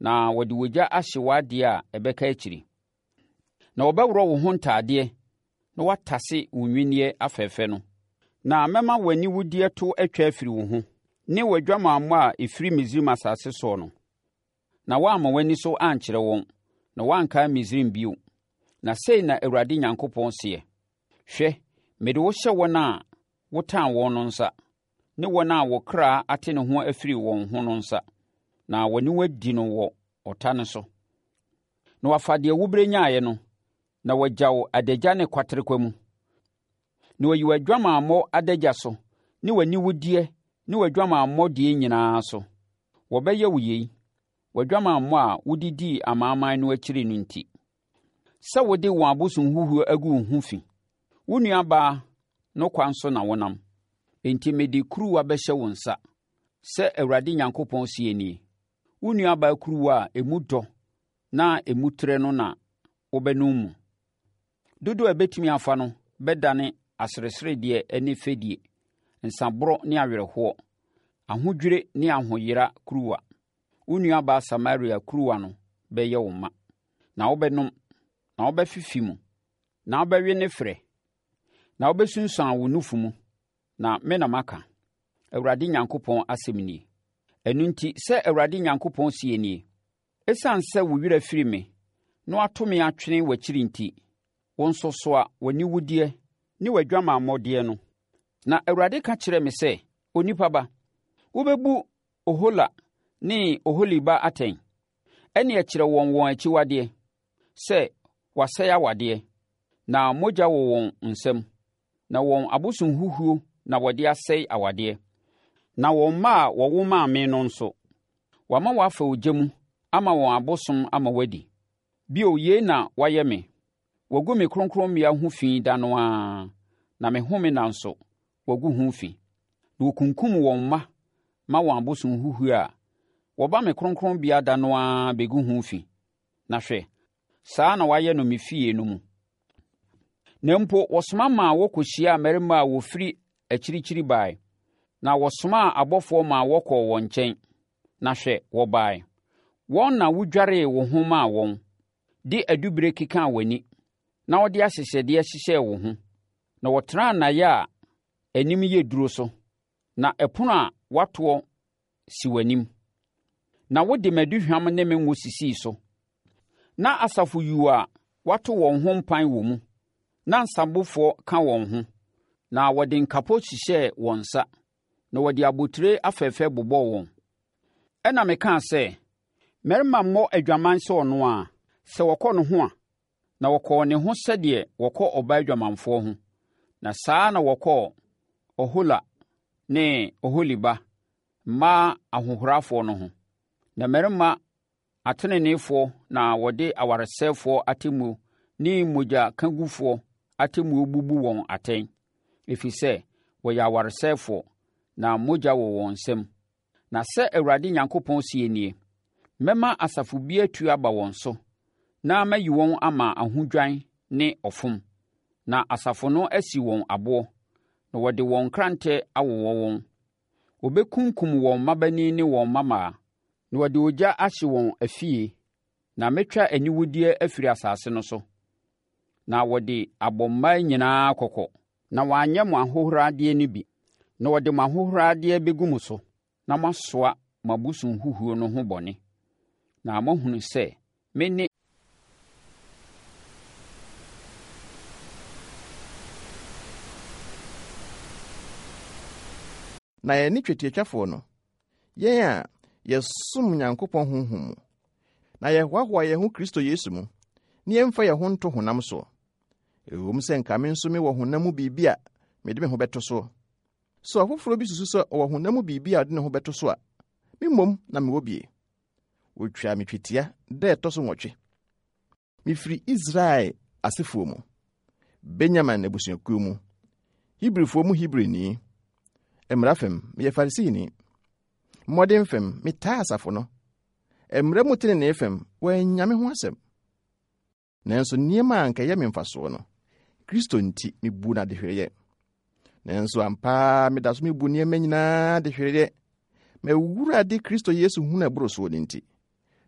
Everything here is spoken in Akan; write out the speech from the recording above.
na wɔde ogya ahye w'adeɛ a ɛbɛka akyiri. Na wɔbɛworɔ wo ho ntadeɛ na wɔatase wo nnwinneɛ afɛfɛ no. Na mɛma w'aniwudeɛ to atwa afiri wo ho, ne w'adwamammɔ a ɛfiri Misraim asase soɔ no. Na woamma w'ani so ankyerɛ wɔn, na woankae Misraim bio. Na sei na Awurade Nyankopɔn seɛ, Hwɛ, mede wo hyɛ wɔn a wotan wɔn no nsa, ne wɔn a wo kra ate ne ho afiri wɔn ho no nsa, na wɔne wo adi no wɔ ɔta no so. Na wɔafa deɛ wobrɛ nyaeɛ no, na wɔagya wo adagya ne kwaterekwa mu. Na wɔayi w'adwamammɔ adagya so ne w'aniwudeɛ ne w'adwamammɔ deɛ nyinaa so. Wɔbɛyɛ wo yei, w'adwamammɔ a wode dii amanaman no akyiri no nti, sɛ wode wɔn abosonhuhuo agu wo ho fi. Wo nuabaa no kwan so na wonam, enti mede kuruwa bɛhyɛ wo nsa, sɛ Awurade Nyankopɔn seɛ nie. Wo nuabaa kuruwa a emu dɔ na emu trɛ no na wobɛnom mu. Dodoɔ a ɛbɛtumi afa no bɛdane asereseredeɛ ne fɛdie, nsaborɔ ne awerɛhoɔ, ahodwire ne ahoyera kuruwa. Wo nuabaa Samaria kuruwa no bɛyɛ wo ma, na wobɛnom, na wobɛfefe mu, na wobɛwe ne ferɛ, na wobɛsunsuan wo nufu mu, na me na maka, Awurade Nyankopɔn asɛm nie. Ɛno nti, sɛ Awurade Nyankopɔn seɛ nie, Esiane sɛ wo werɛ afiri me na woato me atwene w'akyiri nti, wo nso soa w'aniwudeɛ ne w'adwamammɔdeɛ no. Na Awurade ka kyerɛɛ me sɛ, Onipa ba, wobɛbu Ohola ne Oholiba atɛn? Ɛnneɛ kyerɛ wɔn wɔn akyiwadeɛ, sɛ wɔasɛe awadeɛ, na mogya wɔ wɔn nsam, na wɔn abosonhuhuo na wɔde asɛe awadeɛ, na wɔn mma a wɔwo maa me no nso, wɔama wɔafa ogya mu ama wɔn abosom ama wɔadi. Bio, yei na wɔayɛ me, wɔagu me kronkronbea ho fi da no ara, na me home nna nso, wɔagu ho fi. Na wɔkunkum wɔn mma ma wɔn abosonhuhuo a, wɔba me kronkronbea da no ara bɛgu ho fi. Na hwɛ, saa na wɔayɛ no me fie no mu. Na mpo wɔsoma maa wɔkɔhyiaa mmarima a wɔfiri akyirikyiri bae, na wɔsomaa abɔfoɔ maa wɔkɔɔ wɔn nkyɛn, na hwɛ, wɔbae. Wɔn na wodwaree wo ho maa wɔn, de adubire kekaa w'ani, na wɔde ahyehyɛdeɛ hyehyɛɛ wo ho, na wɔtenaa nnaeɛ a anim yɛ duro so, na ɛpono a wɔatoɔ si w'anim. Na wode m'aduhwam ne me ngo sisii so. Na asafo yuu a wɔato wɔn ho mpan wɔ mu, na nsabofoɔ ka wɔn ho, na wɔde nkapo hyehyɛɛ wɔn nsa, na wɔde abotire afɛfɛ bobɔɔ wɔn. Ɛnna mekaa sɛ, Mmarima mmɔ adwaman sɛ ɔno ara, sɛ wɔkɔ ne ho a, na wɔkɔɔ ne ho sɛdeɛ wɔkɔ ɔbaa dwamanfoɔ ho, na saa ara na wɔkɔɔ Ohola ne Oholiba, mmaa ahohorafoɔ no ho. Na mmarima ateneneefoɔ na wɔde awaresɛefoɔ atemmuo ne mogyakagufoɔ atemmuo bubu wɔn atɛn, ɛfiri sɛ wɔyɛ awaresɛefoɔ, na mogya wɔ wɔn nsam. Na sɛ Awurade Nyankopɔn seɛ nie, Mɛma asafo bi atu aba wɔn so, na mayi wɔn ama ahodwan ne ɔfom, na asafo no asi wɔn aboɔ, na wɔde wɔn nkrantɛ awowɔ wɔn. Wɔbɛkunkum wɔn mmabanin ne wɔn mmammaa, na wɔde ogya ahye wɔn afie, na mɛtwa aniwudeɛ afiri asase no so, na wɔde abɔ mmaa nyinaa kɔkɔ. Na wɔanyɛ mo ahohoradeɛ no bi, na wɔde mo ahohoradeɛ bɛgu mo so, na moasoa mo abosonhuhuo no ho bɔne, na moahunu sɛ mene. Na yɛne twetiatwafoɔ no, yɛn a yɛsom Nyankopɔn honhom mu, na yɛhoahoa yɛn ho Kristo Yesu mu, ne yɛmfa yɛn ho nto honam soɔ. Ɛwom sɛ nka me nso mewɔ honam mu biribi a mede me ho bɛto soɔ. Sɛ ɔfoforɔ bi susu sɛ ɔwɔ honam mu biribi a ɔde ne ho bɛto so a, me mmom na mewɔ bie. Wɔtwaa me twetia da ɛtɔ so nwɔtwe. Mefiri Israel asefoɔ mu, Benyamin abusuakuo mu, Hebrifoɔ mu Hebrini. Mmara fam, meyɛ Farisini. Mmɔden fam, metaa asafo no. Mmara mu tenenee fam, wɔannya me ho asɛm. Nanso nneɛma a anka ɛyɛ me mfasoɔ no, Kristo nti mebu no adehwereɛ. Nanso ampa ara meda so mebu nneɛma nyinaa adehwereɛ, m'Awurade Kristo Yesu hunu ɛboro soɔ no nti.